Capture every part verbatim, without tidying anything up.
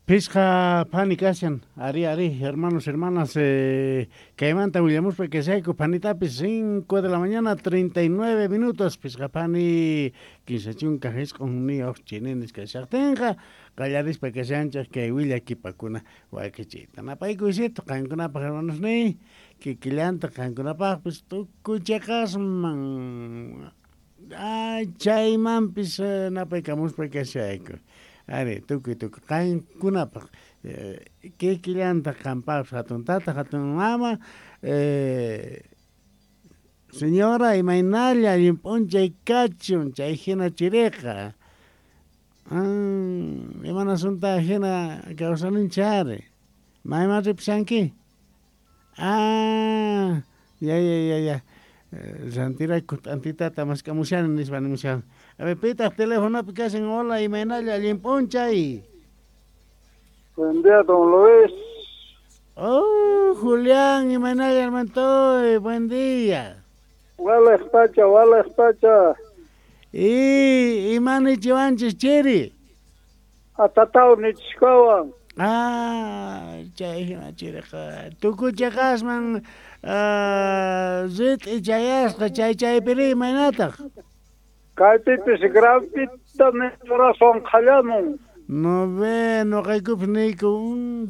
Pisqa phani kashan, ari ari, hermanos, hermanas, eh, kaymanta willamuspa kashayku phanitapis cinco de la mañana treinta y nueve minutos, pisqa phani kinsa chunka isq'unniyuq chininis kashaqtinqa qallarispa kashanchik kay willakipakuna wakichiyta. Napaykuysito qankunapaq hermanos niy, kikillanta qankunapaqpis tukuy chiqasman chaymanpis napaykamuspa kashayku. Ari, tukuy tukuy qankunapaq kikillanta qampaqpis hatun tata, hatun mama, eh, señora imaynalla allin p'unchay kachun chay hina chiriqa. Ah, imanasunta hina kawsaninchik ari. Mayman ripushanki? Ah, ya ya ya ya. Rantirayku t'antitata mask'amushani nispa nimushan. A ver, pitaq telefonopi kashan. Hola, imaynalla allin p'unchay. Buen día, don Luis. Oh, Julián, imaynalla hermantoy, buen día. Walej pacha, walej pacha. Y imanichiwanchis chiri. Atatau nichikawan. Ah, chay hina chiriqa. Tukuy chiqasman rit'i chayasqa chay chaypiri imaynataq? Kaypipis gravita razón qhallamun. No ve, noqaykupis niyku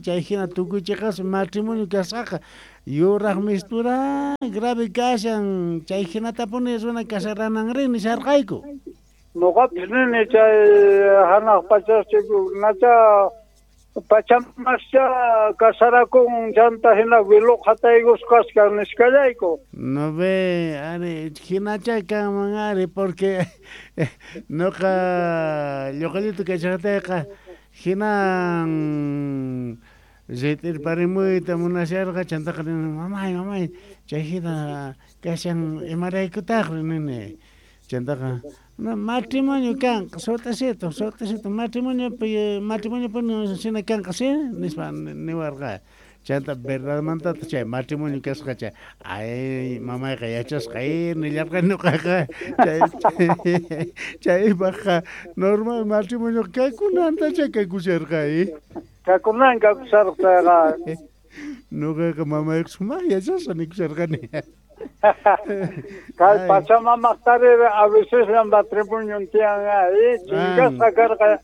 chay hina tukuy chiqasman matrimonio kasqaqa yuraq mistura grave kashan chay hinatapuni runa kasarananri nisharqayku. Noqapis nini chay hanaq pachaschiku nacha pachamascha kasarakun chanta hina wiluq hataykus kaskan niskallayku. No ve, ari, hinacha kanman ari, porque noqa lluqallitu kachaqtayqa hinan ritirparimuyta munasharqa chantaqa nini mamay mamay chay hina kashan imaraykutaqri nini chantaqa no, matrimonio kanqa sut'isito sut'isito matrimonio matrimonio puni kanqa si nispa niwarqa chanta verdadmantata chay matrimonio kasqa chay ay mamayqa yachasqa ay nillarqa ñuqaqa chay chaypaqqa normal matrimonio kakunanta chay kakusharqa ay kakunan kakusharqa ñuqaqa mamayqa sumaq yachasqa nikusharqani. Kay pachamamaqtari a veces matrimonio tiyan ay chingasqa karqa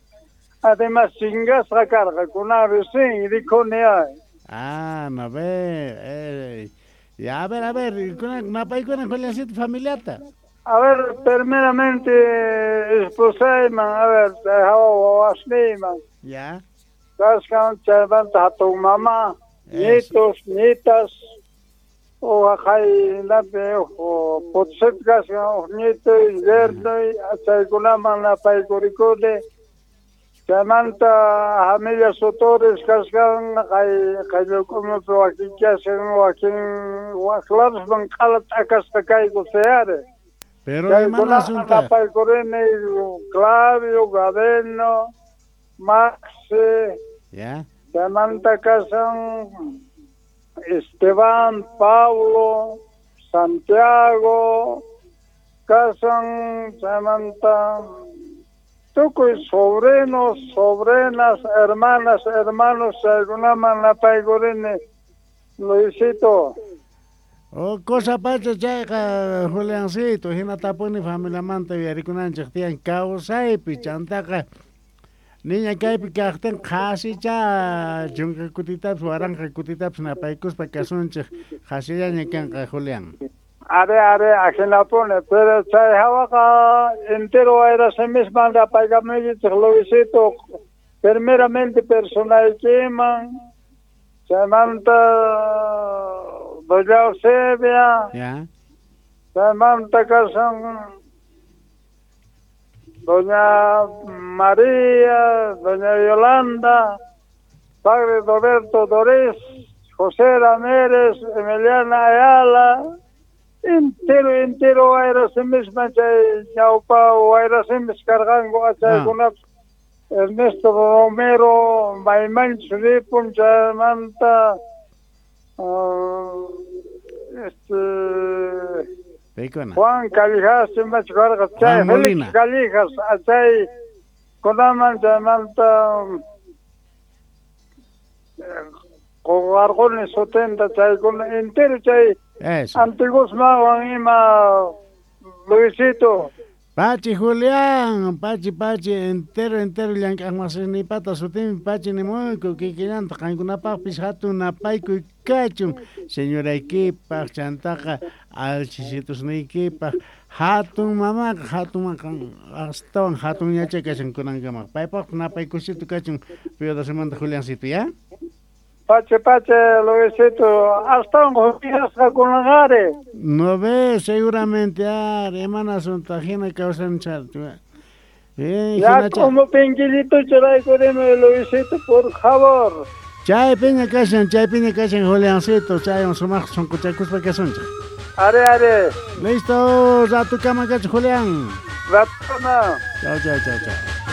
además chingasqa karqa kunan recién rikuni ay. Ah, no ve, eh, ya a ver, a ver, kunan napaykuna Juliancito familiata. A ver, primeramente esposayman, a ver, hawa wawasniyman. Ya. Kaskan chaymanta hatun mama, nietos, nietas. O kaynapi o potset kashan uq nietoy, yernoy, chaykunaman napaykurikuni. Chaymanta familia Sotores kashan kay qayllukunapi wakin kashan wakin waklarusman q'ala t'akasqa kayku sayari. Pero imanasutaq napaykurini Clavio, Gabeno, Maxi. Ya. Chaymanta kashan Esteban, Pablo, Santiago, casan, chaymanta, tukuy sobrinos, sobrinas, hermanas, hermanos, chaykunaman napaykurini, Luisito. Oh, cosa pacha chayqa, Juliancito, hinatapuni familiamanta yuyarikunanchik tiyan kawsaypi chantaqa niña kaypi kaqtin qhasicha chunka kutitapis waranqa kutitapis napaykuspa kasunchik qhasillaña kanqa Julián. Are are ajinapuni pero chay hawaqa entero wayrasimisman napaykamuykichik Luisito primeramente personaykiman chaymanta doña Eusebia ya chaymanta kashan doña María, doña Yolanda, padre Roberto Dorés, José Ramírez, Emiliana Ayala, entero, entero, wayrasimisman chay ñawpa wayrasimis karqanku achaykunapis Ernesto Romero, maymanchus ripun chaymanta uh, este Peykuna. Juan Callejas, imachkarqa chay Felix Callejas, chay kunaman chaymanta Qoqarquni sutinta chaykuna entero chay Eso. Antigusmawan ima Luisito. Pachi Julián, Pachi Pachi, entero entero llank'aqmasinipata sutinpi Pachi nimuyku kikillanta qankunapaqpis hatun napaykuy kachun señoraykipaq chantaqa alchisitusniykipaq hatun mamaqa hatun astawan hatun yachay kashan kunankamaq paypaq napaykusito kachun Piudasimanta Juliancito, ¿ya? Pache, pache, Luisito, astawan juyasqa kunanqari. No ve, seguramente, ah, hermana hina kawsancha. Eh, Ya como pinquillito churaykurimi, Luisito, por favor. Chay piña kashan, chay piña kashan, Juliancito, chay un sumaq sunquchakuspa kasunchik. Are, are. Listo, ratukama kachu, Julián. Ratukama. Chao, chao, chao, chao.